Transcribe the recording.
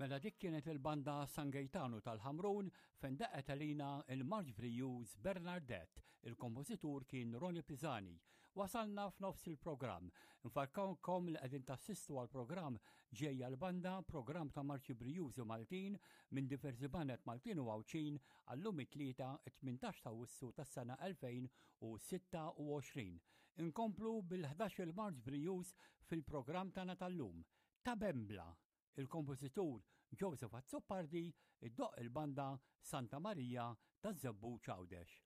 Mela dik kienet il-banda San Gejtanu tal-Ħamrun fejn daqqet għalina il-Marċ Brijuż Bernardette, il-kompożitur kien Ronnie Pisani. Wasalna f'nofs il-programm. Nfarkawkom li qegħdin tassistu għall-programm Ġejja l-Banda, programm ta' Marċi Brijużi Maltin minn diversi baned Maltin u Għawdxin għallum it-Tlieta 18 ta' Awwissu tas-sena 2026. Inkomplu bil-11 il-Marċ Brijuż fil-programm tagħna tal-lum. Ta' Bembla, Il-kompożitur Joseph Azzopardi iddoqq il-banda Santa Marija taż-Żebbuġ Għawdex.